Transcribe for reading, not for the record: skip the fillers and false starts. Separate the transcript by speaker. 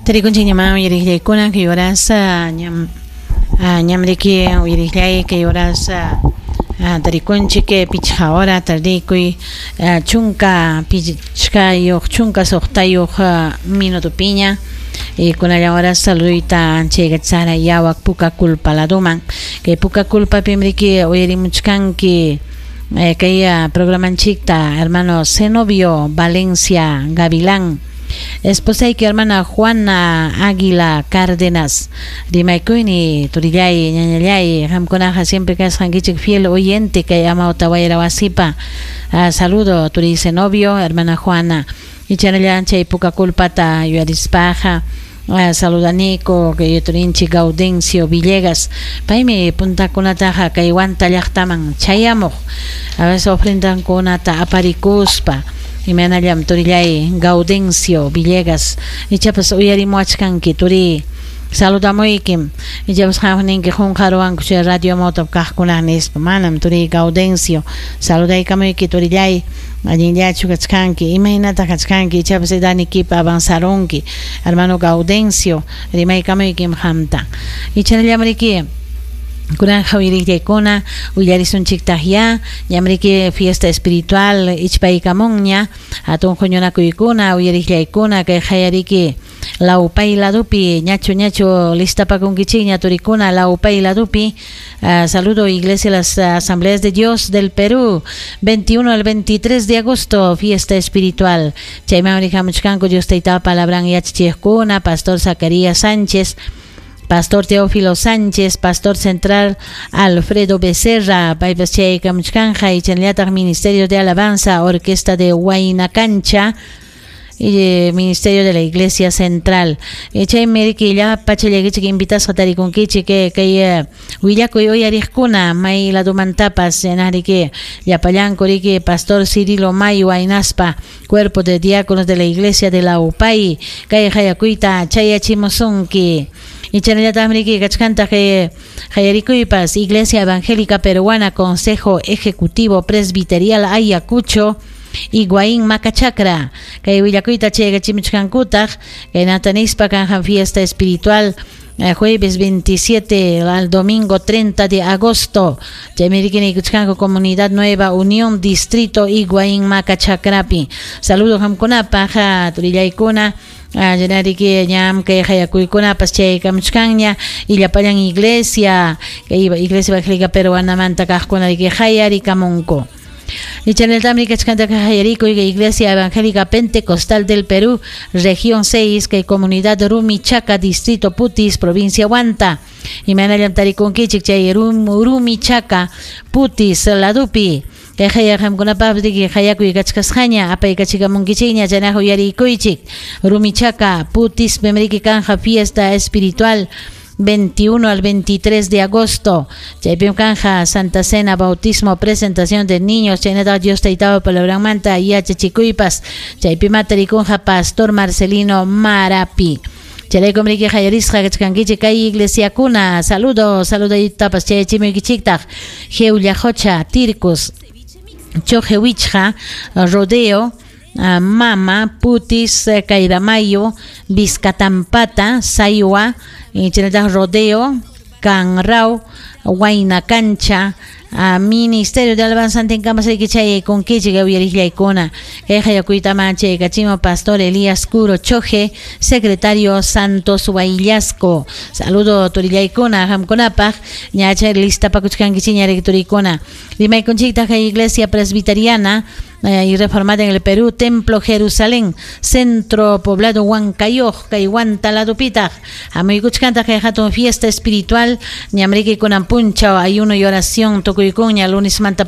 Speaker 1: Tarikunchikñamá uyariqllaykuna kay horas ñam ñamriki uyariqllay kay horas tarikunchik pichqa hora tardikuy 15 16 minutopiña y kunallan horas saluduyta chaykatsara yawak puka kulpa laduman kay puka kulpapim riki uyarimuchkanki kay programanchikta hermano Zenobio Valencia Gavilán, esposayki hermana Juana Águila Cárdenas. Rimaykuyni turillay, ñañallay, qamkunaqa siempre kasqankichik fiel oyente kay Amauta Wayra wasipa. Saludo turi Zenobio, hermana Juana. Ichanallan chay puka kulpata yuyarispaqa saludaniko kay turinchik Gaudencio Villegas, paymi puntakunataqa kay Huanta llaqtaman chayamuq a veces ofrendankunata aparikuspa. Imaynallam turillay Gaudencio Villegas, ichapas uyarimuachkanki turi, saludamuykim. Ichapas qam ninki qunqaruwanku chay radio Amawtap kaqkuna nispa, manam turi Gaudencio, saludaykamuyki turillay, allinllachu kachkanki, imaynataq kachkanki, ichapas edadnikipa avanzarunki, hermano Gaudencio, rimaykamuykim qamta. Ichanallam kunanja uyariqllaykuna willarisunchiktaq ya ñamriki fiesta espiritual ichpaykamunña hatun huñunakuykuna uyariqllaykuna kay qayariki Lawpay ladupi ñachu ñachu listapakunkichikña turikuna Lawpay ladupi. Saludo Iglesia las Asambleas de Dios del Perú, 21 al 23 de agosto, fiesta espiritual. Chayman rihamuchkanku Dios taytapa palabran yachachiqkuna, Pastor Zacarías Sánchez, Pastor Teófilo Sánchez, Pastor Central Alfredo Becerra, paypas chaykamuchkanja, y chaynallataq Ministerio de Alabanza, Orquesta de Huaynacancha, y Ministerio de la Iglesia Central. Chaymi riki llapa chayllakichik invitasqa tarikunkichik kay willakuy uyariqkuna may ladumantapas riki llapallanku riki Pastor Cirilo Mayo hinaspa Cuerpo de Diáconos de la Iglesia de la UPAI kay hayakuyta chayachimusunki. Y chaynallataqmi riki kachkantaq hayarikuypas Iglesia Evangélica Peruana, Consejo Ejecutivo Presbiterial Ayacucho, Higuaín Macachacra kay willakuyta chaykachimuchkankutaq kay natanispa kanjan fiesta espiritual jueves 27 al domingo 30 de agosto. Chaymi riki niykuchkanku Comunidad Nueva Unión, Distrito Higuaín Macachacrapi. Saludos qamkunapaq turillaykuna, llanariki ñam kay hayakuykunapas chaykamuchkanña y llapallan iglesia kay Iglesia Evangélica Peruanamanta kaqkuna riki hayarikamunku. Ichaneltamri kachkantaka hayarikuy Iglesia Evangélica Pentecostal del Perú, Región 6, kay Comunidad Rumichaca, Distrito Putis, Provincia Huanta. Imaynallam tarikunkichik chay Rumichaca, Putis, ladupi. Kay hayaqamkunapaq riki hayakuy kachkasqaña apaykachikamunkichikña chaynaqa uyarikuychik. Rumichaca, Putis, pimriki kanja fiesta espiritual 21 al 23 de agosto. Chaypim kanja Santa Cena, bautismo, presentación de niños, chaynata Dios taytapa palabranmanta yachachikuypas. Chaypim tarikunja Pastor Marcelino Marapi. Chayraykum riki hayarisqa kachkankichik kay iglesiakuna. Saludo, saludaytapas chayachimuykichiktaq. Jeullajocha, Tircus, Chojewichja, Rodeo, Mama, Putis, Cairamayo, Vizcatampata, Sayua, chaynataq Rodeo, Canrao, Huayna Cancha, Ministerio de Alabanza Antinkamas riki chayaykunkichik uyariqllaykuna. Kay hayakuytaman chaykachimo Pastor Elías Curo Choje, Secretario Santos Huayllasco. Saludo turillaykuna qamkunapaq, ña chay listapakuchkankichikña riki turikuna. Rimaykunchiktaq kay Iglesia Presbiteriana y Reformada en el Perú, Templo Jerusalén, Centro Poblado Huancayoq, kay Huanta ladupitaq. Hamuykuchkantaq kay hatun fiesta espiritual, ñamriki kunan punchaw ayuno y oración tukuykuña lunes manta.